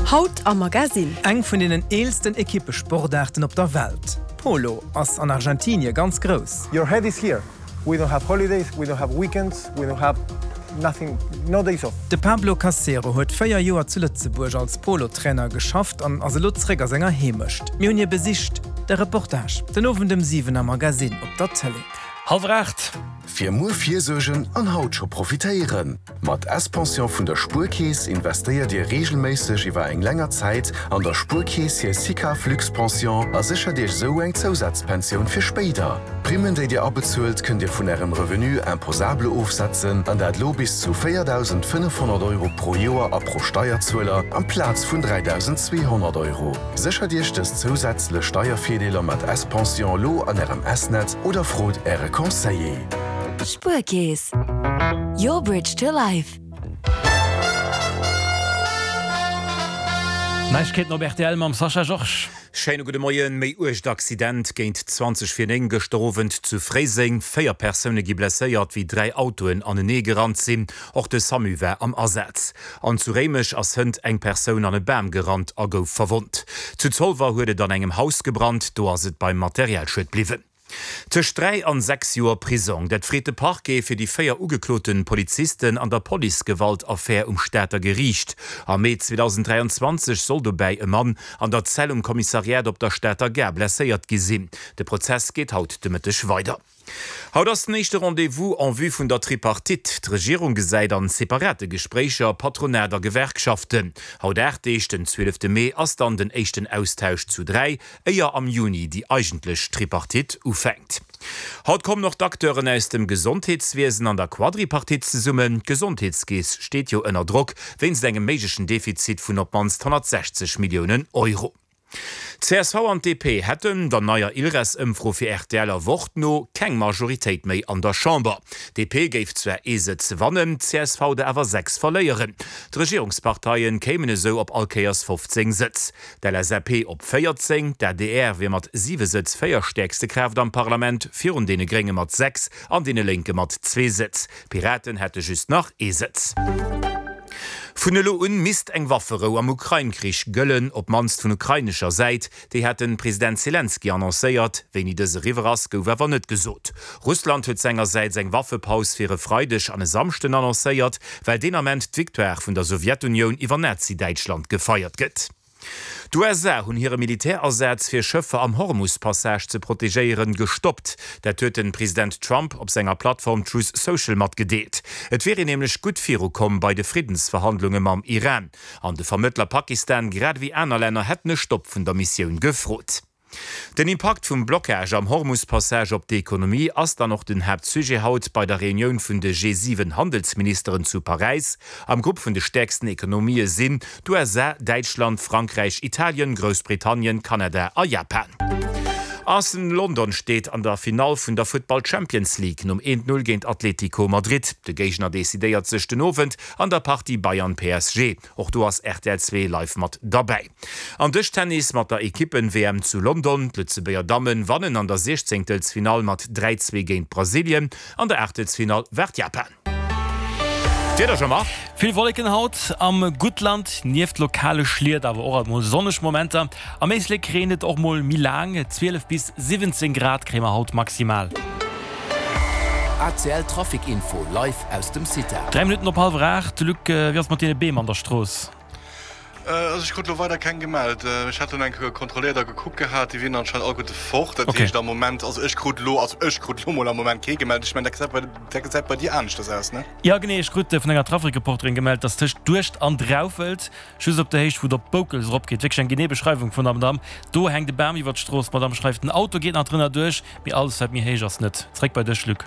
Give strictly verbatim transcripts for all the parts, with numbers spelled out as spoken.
Haut am Magasinn. Eng vun deenen eelsten Ekippesportaarten op der Welt, Polo, ass an Argentinie ganz grouss. Your head is here. We don't have holidays, we don't have weekends, we don't have nothing, no days off. De Pablo Casero huet véier Joer zu Lëtzebuerg als Polo-Trainer geschafft an ass elo zréck a senger Heemecht. Mir hunn hie besicht. De Reportage den Owend ëm siwen am Magasinn op der Tëlee. Hallwer aacht. Fir muer virsuergen an haut scho profitéieren! Mat S-Pension vun der Spuerkeess investéiert Dir reegelméisseg iwwer eng länger Zäit an der Spuerkeess hir SICAV Luxe-Pension a séchert Iech esou eng Zousazpensioun fir spéider. D'Primmen, déi Dir abezuelt, kënnt Dir vun Ärem Revenu imposable ofsetzen, an dat elo bis zu véierdausendfënnefhonnert Euro pro Joer a pro Steierzueler, amplaz vun dräidausendzweehonnert Euro. Séchert Iech dës zousätzlech Steiervirdeeler mat S-Pension elo an Ärem S-Netz oder frot Äre Conseiller. Spuerkeess, your bridge to life. Neiegkeeten op rtl mam Sascha Georges. Schéine gudde Moien. Méi uergt Accident géint zwanzeg vir néng gëschter Owend zu Fréiseng. Véier Persoune gi blesséiert, wéi dräi Autoen anenee gerannt sinn. Och de Samu war am Asaz. An zu Réimech ass hënt eng Persoun an e Bam gerannt a gouf verwonnt. Zu Zolwer huet et an engem Haus gebrannt, do ass et beim Materialschued bliwwen. Tëscht dräi an sechs Joer Prisong, dat freet de Parquet fir déi véier ugeklote Polizisten an der Policegewalt-Affär um Stater Geriicht. Am Mee zweedausenddräianzwanzeg soll dobäi e Mann an der Zell um Kommissariat op der Stater Gare blesséiert gi sinn. De Prozess geet haut de Mëtteg weider. Haut ass den éischte Rendez-vous en vue vun der Tripartite. D'Regierung gesäit an separate Gespréicher Patronat a Gewerkschaften. Haut aacht Deeg, den zwielefte Mee, ass dann den éischten Austausch zu dräi, éier am Juni déi eigentlech Tripartite ufänkt. Haut kommen och d'Acteuren aus dem Gesondheetswiesen an der Quadripartite zesummen. D'Gesondheetskeess steet jo ënner Drock wéinst engem méiglechen Defizit vun op d'mannst honnertsechzeg Milliounen Euro. D'CSV an d'DP hätten, der neier Ilres-Ëmfro fir rtl a Wort no, keng Majoritéit méi an der Chamber. D'DP géif zwar ee Sëtz wannen, d'CSV der awer sechs verléieren. D'Regierungsparteien kéimen esou op all Kéiers fofzéng Sëtz, d'LSAP op véierzéng, d'ADR wier mat siwe Sëtz véierstäerkste Kraaft am Parlament, virun deene Grénge mat sechs an deene Lénke mat zwee Sëtz. D'Piraten hätte just nach ee Sëtz. Vun elo un misst eng Wafferou am Ukrain-Krich gëllen, op d'mannst vun ukrainescher Säit. Déi hat de President Selenskyj annoncéiert. Wéini dës eriwwer ass, gouf awer net gesot. Russland huet sengersäits eng Waffepaus fir e Freideg an e Samschden annoncéiert, well deen Ament d'Victoire vun der Sowjetunioun iwwer Nazi-Däitschland gefeiert gëtt. D'USA hunn hire Militärasaz fir Schëffer am Hormus-Passage ze protegéieren, gestoppt. Dat huet de President Trump op senger Plattform Truth Social matgedeelt. Et wier een nämlech gutt virukomm bei de Friddensverhandlunge mam Iran. An de Vermëttler Pakistan grad ewéi aner Länner hätten e Stopp vun der Missioun gefrot. Den Impakt vum Blockage am Hormus-Passage op d'Ekonomie ass dann och den Haaptsujet haut bei der Reunioun vun de G siwen Handelsministeren zu Paräis. Am Grupp vun de stäerksten Ekonomië sinn d'USA, Däitschland, Frankräich, Italien, Groussbritannien, Kanada a Japan. Arsenal London steet an der Finall vun der Futtball Champions League nom eent Null géint Atlético Madrid. De Géigner decidéiert sech den Owend an der Partie Bayern-PSG. Och do ass rtl zwee live mat derbäi. An Dëschtennis mat der Ekippen-W M zu London. D'Lëtzebuerger Dammen wannen an der Siechzéngtelsfinall mat dräi zwee géint Brasilien. An der Aachtelsfinall waart Japan. D'Wieder, Jean-Marc? Vill Wolleken haut am Guttland, nieft lokale Schliet awer och alt mol sonneg Momenter. Am Éislek reent et och mol méi laang, zwielef bis siwwenzéng Grad kréie mer haut maximal. A C L Trafic Info live aus dem CITA. Dräi Minutten op hallwer aacht. Luc, wéi ass et mat deene Beem an der Strooss? Also ech krut lo weider keng gemellt. Ech hat dunn eng Kéier kontrolléiert a gekuckt gehat, déi wieren anscheinend alleguerte fort. Dat heescht am Moment, also ech krut lo, also ech krut lo mol am Moment kee gemellt. Ech mengen dat gesäit bei, dat gesäit bei dir aneschters aus, ne? Jo genee, ech krut vun enger Trafikreporterin gemellt, dass tëscht Duerscht an Draufelt, just op der Héicht wou et op Boukels eropgeet, wierklech eng genee Beschreiwung vun der Madamm, do hänkt e Bam iwwert d'Strooss. D'Madamm schreift, den Auto geet nach drënner duerch, mee alles wat méi héich ass net. Zréck bei dech Luc.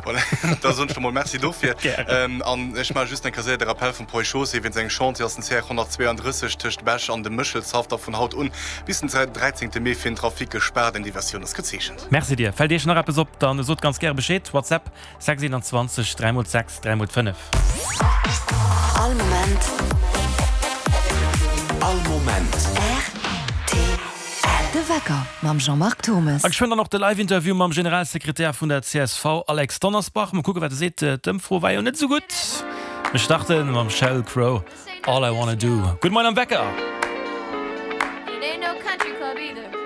Voilà, da soen ech der mol Merci dofir. An ech maache just eng Kéier séier de Rappel vum Poi Chaussée. Wéinst engem Chantier ass den C R honnertzweeanddrësseg tëscht Bech an dem Méchelshaff da vun haut un bis den dräizéngte Mee fir den Trafic gespaart. Eng Diversioun ass gezeechent. Merci dir. Fält iech nach eppes op, dann sot ganz gäre Bescheed. WhatsApp sechs eenanzwanzeg dräi mol sechs dräi mol fënnef. All Moment. All Moment. R T L. De Wecker mam Jean-Marc Thommes. A geschwënn dann och de Live-Interview mam Generalsekretär vun der C S V Alex Donnersbach. Mol kucken, wat e seet. D'Ëmfro war jo net esou gutt. Mir starte mam Sheryl Crow All I Wanna Do. Gudde Moien am Wecker! It ain't no country club either.